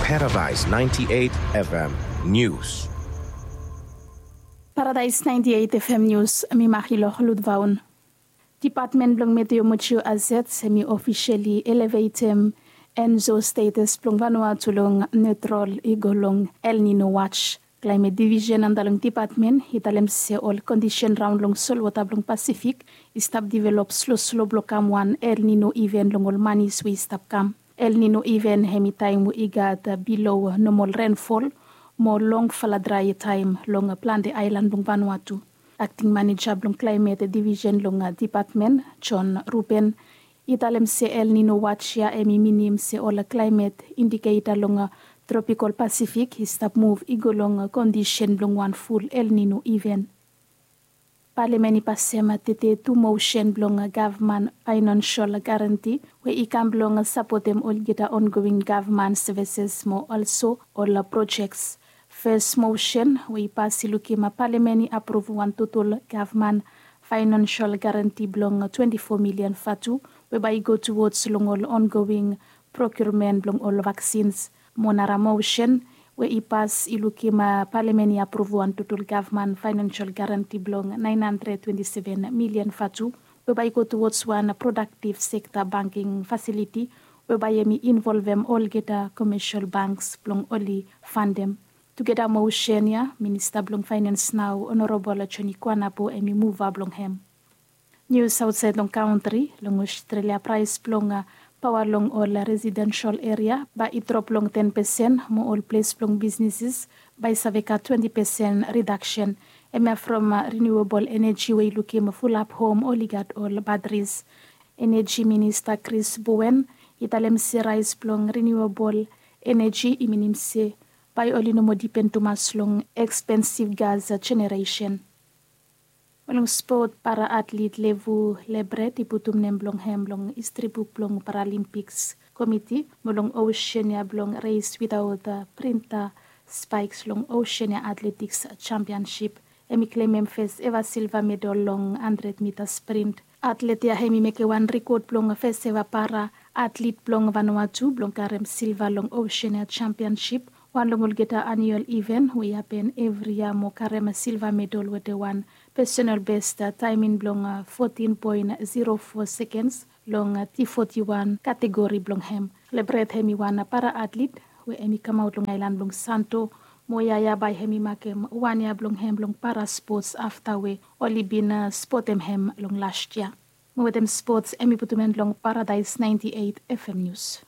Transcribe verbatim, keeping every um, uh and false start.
Paradise ninety-eight F M News. Paradise ninety-eight F M News, mi Marilor Ludvaun. Dipatmen blong Meteorology Azets hemi ofisali elevetem enzo status blong Vanuatu long neutral i go long El Nino watch. Climate Division anda long dipatmen i talem se ol kondisen raon long solwota blong Pasifik i stap divelop sloslo blong kam wan El Nino iven long ol manis we i stap kam. El Nino iven hemi taem we i gat bilo nomol renfol mo longfala drae taem long plante aelan blong Vanuatu. Akting maneja blong Climate Division long dipatmen, John Ruben, i talem se El Nino watch ya hemi minim se ol climate indiketa long tropikol Pasifik i stap muv i go long kondisen blong wan ful El Nino iven. Palamen i pasem tete tu mosen blong gavman faenensel garanti we i kam blong sapotem olgeta ongoing gavman sevises mo olso ol projeks. Fes mosen we i pas i lukim palamen i apruv wan total gavman faenensel garanti blong twenti fo milian vatu we bae i go tuwods long ol ongoing prokirmen blong ol vaksins. Mo nara mosen we i pas i lukim palamen i apruv wan total gavman faenensel garanti blong naen handred twenti seven milian vatu we bae i go tuwods wan prodaktiv sekta banking fasiliti we bae hemi involvem olgeta komesel banks blong oli fandem. Tugeta mosen ya, minista blong faenens nao Onorabol Joni Kuanapo hemi muva blong hem. Nius aotsaed long kantri. Long Ostrelia praes blong paoa long ol residensel eria bae i drop long ten pesen mo ol ples blong bisneses bae i save gat twenti pesen ridaksen. Hemia from riniuabol eneji we i lukim fulap hom oli gat ol bateris. Eneji minista Chris Bowen i talem se raes blong riniuabol eneji i minim se bae oli no moa dipen tumas long ekspensiv gas jeneresen. Mo long spot, para atlet Levu Lebret i putum nem blong hem long histri buk blong Paralimpiks komiti mo long osen ya blong res witaot printa spaeks long osen ya atletiks jampiansip. Hemi klemem fes eva silva medal long handred mita sprint. Atlet ya hemi mekem wan rekod blong fes eva para atlet blong Vanuatu blong karem silva long osen ya jampiansip, wan long olgeta aniual iven we i hapen evri yia mo karem silva medal wetem wan pesonal bes taemin blong fotin poen zero fo sekens long T foti wan kategori blong hem. Lebret hemi wan para atlet we hemi kamaot long aelan blong Santo, mo yia ya bae hemi makem wan yia blong hem long para spots afta we oli bin spotem hem long las yia. Mo wetem spots hemi putum en long Paradaes naenti eit F M Nius.